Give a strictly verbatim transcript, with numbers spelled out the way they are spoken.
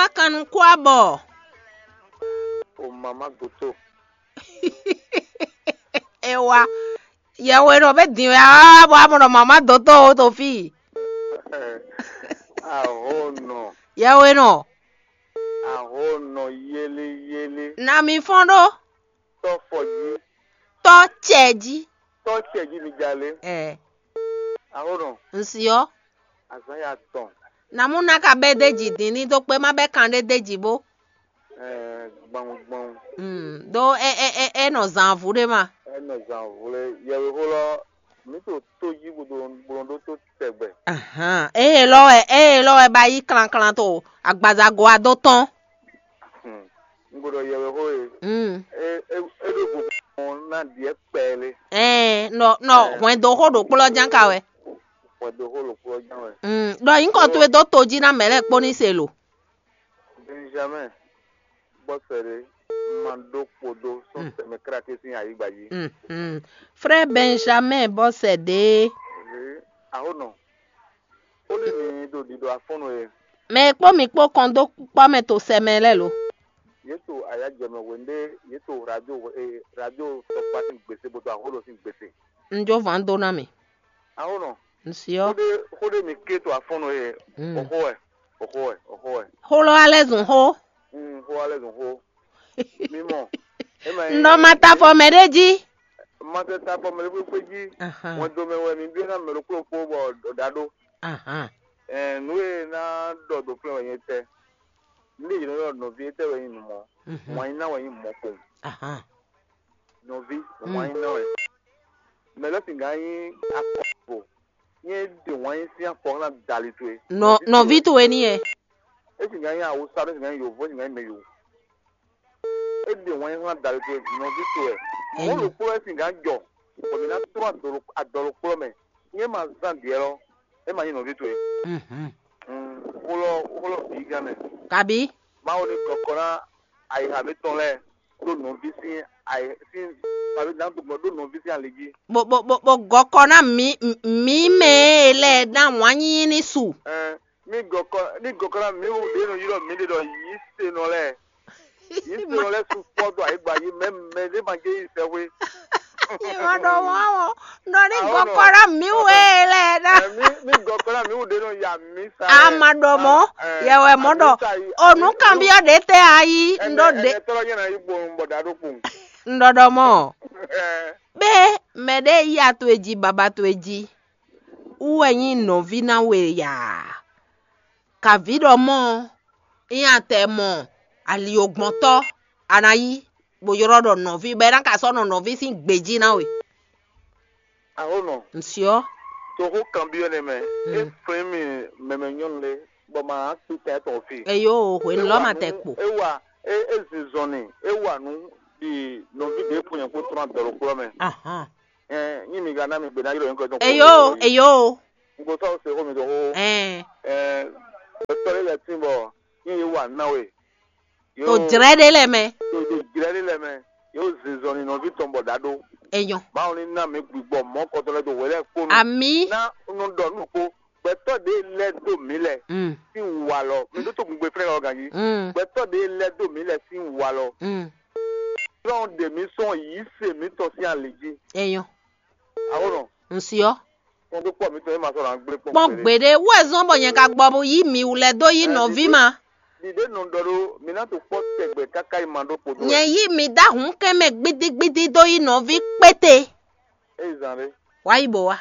Akan nukún abɔ. O mama goto. E wa. Yɛwe nɔ be din wɛ a bɔ a mɔ nɔ mama dotɔ o to fi. Ahonɔ. Yɛwe nɔ. Ahonɔ yeli yeli. Na mi fɔn ɖo. Tɔ fɔ jí. Tɔ cɛ jí. Tɔ cɛ jí mi jalé. Ɛ. Ahonɔ. Nsiɔ. Azan ya tɔn. Na mu na ka bɛ de ji din ni do kpe ma bɛ kan ɖe de ji bo. Ɛɛ, gbɔn gbɔn. Mm, do e e e e nɔ zan avu ɖe ma. Enɔ zan vle yɛwe xó lɔ mi to tó jí gbodo gblɔn ɖó tó tɛgbɛ. Ahan, eye lɔ wɛ eye lɔ wɛ ba yi klanklan to agbazago a do tɔn. Hmm. N gbɔdɔ yɛwe xó e. Mm. E e e ɖo gbogbo na diɛ kpɛlɛ. Ɛɛ, nɔ nɔ hwɛndo xó ɖo kplɔ jan ka wɛ. Hwɛndo xó ɖo kplɔ jan wɛ. Mm, ɖɔ yi kɔ to e do to jí na mɛ lɛ kpó ní se lo. Benjamin, bɔsɛ ɖe, ma ɖó kpodo sɔn tɛmɛ kráke sín ayigba jí. Mhm. Frère Benjamin bɔsɛ ɖe. Ahonɔ, ó lé mi ɖo ɖiɖɔ afɔnnu e. Mɛ e kpó mi kpó kɔn dó kpɔ́ mɛ to sɛmɛ lɛ́ɛ lo. Yě to ayájɛmɛ hwenu ɖé yě to radio radio tɔkpa sín gbèsè bó to ahólo sín gbèsè. Un jó vǎn dó ná mi. Ahonɔ, Nsiɔ. Xó ɖé xó ɖé mi ké to afɔnnu e. Mm. Oxó wɛ, oxó wɛ, oxó wɛ. Xó lɔ alɛ zun xó. Mm, xó alɛ zun xó. Mi mɔ. Ema Nɔ ma ta fɔ mɛ ɖé jí. Ma se ta fɔ mɛ ɖé jí. Ahan. Wọn do mɛ wɛ mi bi na mɛ ɖokpó kpó bɔ ɖa ɖó. Ahan. Ɛɛ, nǔ e ná ɖɔ do flɛ́ wɛ nyɛ tɛ. Nú ɖe yě nɔ ylɔ́ nɔví étɛ́ wɛ nyí nǔ mɔ̌. Mhm. Wǎn yí ná wɛ nyí mɔ̌ kpowun. Ahan. Nɔví, wǎn yí ná wɛ. Mɛ lɛ́ singán nyí akɔvo. Nyɛ ɖe wǎn yí sín afɔ ná dali towe. Nɔ nɔví towe ní yɛ. É singán nyí awusa, é singán nyí yovo, é singán nyí mɛ yovo. É ɖe wǎn yí ná dali towe nɔví towe. Mɔ̌ ɖokpó wɛ singán jɔ. Bɔ mǐ ná trɔ́n adɔlɔ adɔlɔ kplɔ́ mɛ. Nyɛ ma zán diɛ lɔ. É ma nyí nɔví towe. Mhm. Xó lɔ xó lɔ bǐ gán mɛ. Kabi. Mawu ní kɔkɔ ná ayixa mǐtɔn lɛ́ɛ ɖó nɔví sín ayi sín ayi ná dɔgbɔn ɖó nɔví sín ali jí. Bo bo bo bo gɔkɔ ná mǐ mǐ mɛ e lɛ ná wǎn nyínyí ní su. Ɛn, mí gɔkɔ ní gɔkɔ ná mǐ wú ɖě nɔ ylɔ́ mǐ ɖe ɖɔ yǐ se nɔ lɛ́ɛ. Yǐ se nɔ lɛ́ɛ su fɔ dó ayigba yí mɛ mɛ ɖé ma jɛ yí sɛxwé. Ìwọ ɖɔ wọ́n o, nɔ ní gɔkɔ ná mǐ wú e lɛ ná. Ɛn, mí mí gɔkɔ ná mǐ wú ɖě nɔ ya mǐ sa. A ma ɖɔ mɔ̌, yɛwɛ mɔ̌ ɖɔ, o nǔ kanbyɔ́ ɖě tɛ a yí, un ɖɔ ɖě. Ɛnɛ tɔlɔ nyɛ na yi gbɔn bɔ da ɖo kpun. Un ɖɔ ɖɔ mɔ̌. Ɛn. Bɛ mɛ ɖé yi ato e jí baba to e jí. Wú wɛ nyí nɔví ná we yaa. Kavǐ ɖɔ mɔ̌, nyí atɛ mɔ ali ogbɔntɔ́ a ná yí, bó ylɔ́ ɖɔ nɔví, bɔ é ná ka sɔ́ nɔ nɔví sín gbějí ná we. Ahonɔ, Nsyɔ́. Toxo kanbyɔ́ nɛ́ mɛ, é flín mì mɛmɛ nyɔ́nu lé, bɔ ma kpí tɛn tɔn fi. Eyo, hwenu lɔ ma tɛ kpo. É wa é é zinzɔn ni, é wa nǔ ɖi nɔví ɖě fún nyɛ kó trɔ́n adɔlɔkplɔ́ mɛ. Ahan. Ɛɛ, nyi mi ka ná mi gbe ná ylɔ́ nyɛ kɔ tɔn. Eyo, eyo. N ko sɔ́ se xó mi dó xó. Ɛɛ. Ɛɛ, tɔ́ lé lɛ tín bɔ nyi yé wa ná we. To jlɛ́ ɖé lɛ mɛ. To to jlɛ́ ɖé lɛ mɛ. Yóò zinzɔn ni nɔví tɔn bɔ ɖa ɖó. Enyɔ. Mawu ní ná mi gbigbɔ mɔ̌ kɔtɔ lɛ do hwɛ lɛ kpó nu. Ami. Ná nɔ ɖɔ nú kpó. Gbɛtɔ́ ɖé lɛ́ dó mǐ lɛ. Mm. Sín walɔ. Mi ɖó tó gungbe flɛ́ lɔ ganjí. Mm. Gbɛtɔ́ ɖé lɛ́ dó mǐ lɛ sín walɔ. Mm. Sɔ́n ɖe mǐ sɔn yǐ se mǐtɔn sín ali jí. Enyɔ. Awonɔ. Nsyɔ. Kpɔ́n kpɔ́ mǐtɔn e ma sɔ́ ná gblé kpɔ́n. Kpɔ́n gbeɖé wɛ zɔn bɔ nyɛ ka gbɔ bo yí mi wú lɛ dó yí nɔví ma. Ɖiɖe nɔ ɖɔ ɖó mi ná to kpɔ́ tɛgbɛ káká yi ma ɖó kpo dó. Nyɛ yí mi dá hun kɛn mɛ gbidigbidi dó yí nɔví kpéte. Eyi zan ɖé. Wá yi bò wá.